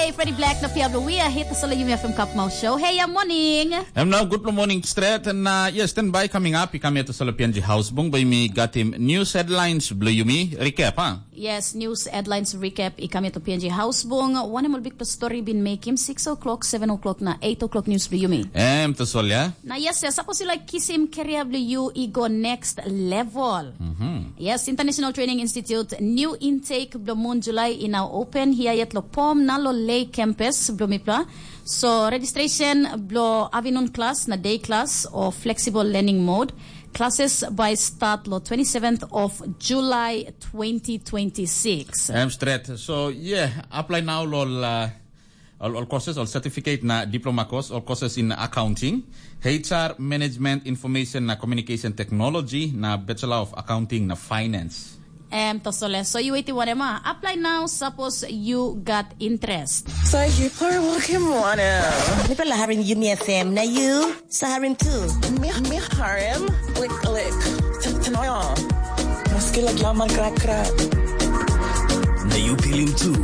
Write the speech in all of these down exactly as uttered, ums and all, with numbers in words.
Hey, Freddie Black na Pia Blue, we are here to solo Yumi F M Cup Mouth Show. Hey, yeah, morning. Em nau, good morning, Stret. Na, yes, stand by coming up. I kam ia to solo P N G House Bung, by mi gatim news headlines, Blue Yumi. Recap, ha? Yes, news headlines recap. I kam ia to P N G House Bung. One more big story been make him six o'clock, seven o'clock na eight o'clock news, Blue Yumi. Em to sol, yeah? Na, yes, yes, suppose you like kisim career, Blue, you, i go next level. Yes, International Training Institute, new intake bilong mun Julai i nau open hia yet lo Pom na lo Lei campus bilong mipela. So registration bilong afternoon class na day class o flexible learning mode. Classes by start lo twenty-seventh of July twenty twenty-six. Em stret. So yeah, apply now lo la All, all courses, all certificate na diploma course, all courses in accounting, H R, management, information na communication technology, na Bachelor of Accounting na finance. Em, tosole. So you waiting whatever. Apply now, suppose you got interest. Sa hipar wakim wanem? Mipela harim Yumi F M, na you? Sa harim tu. Mi, mi harim, like, like, t-, tanoyo. Maski laglaman krakra. Na you pilim tu.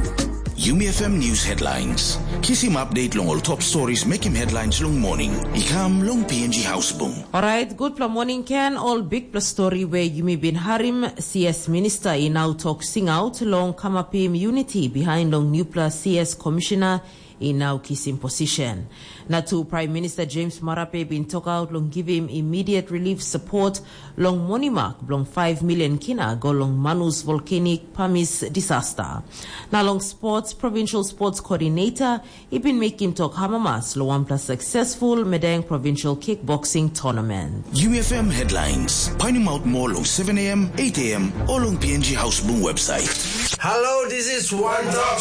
Yumi F M News Headlines. Kisim update long ol top stories mekim headlines long morning. I kam long P N G House Bung. Alright, gutpela morning, Ken. Ol bikpela story we yumi bin harim, C S Minister i nau tok singaut long kamapim unity behind long newpela C S Commissioner i nau kisim position. Na tu Prime Minister James Marape bin tokaut long givim immediate relief support long monimak bilong five million kina go long Manus Volcanic Pamis disaster. Na long sports, Provincial Sports Coordinator i bin mekim tok hamamas long wanpela successful Medang Provincial Kickboxing Tournament. U F M Headlines. Painim out more long seven a m, eight a m, or long P N G House Boom website. Hello, this is One Talk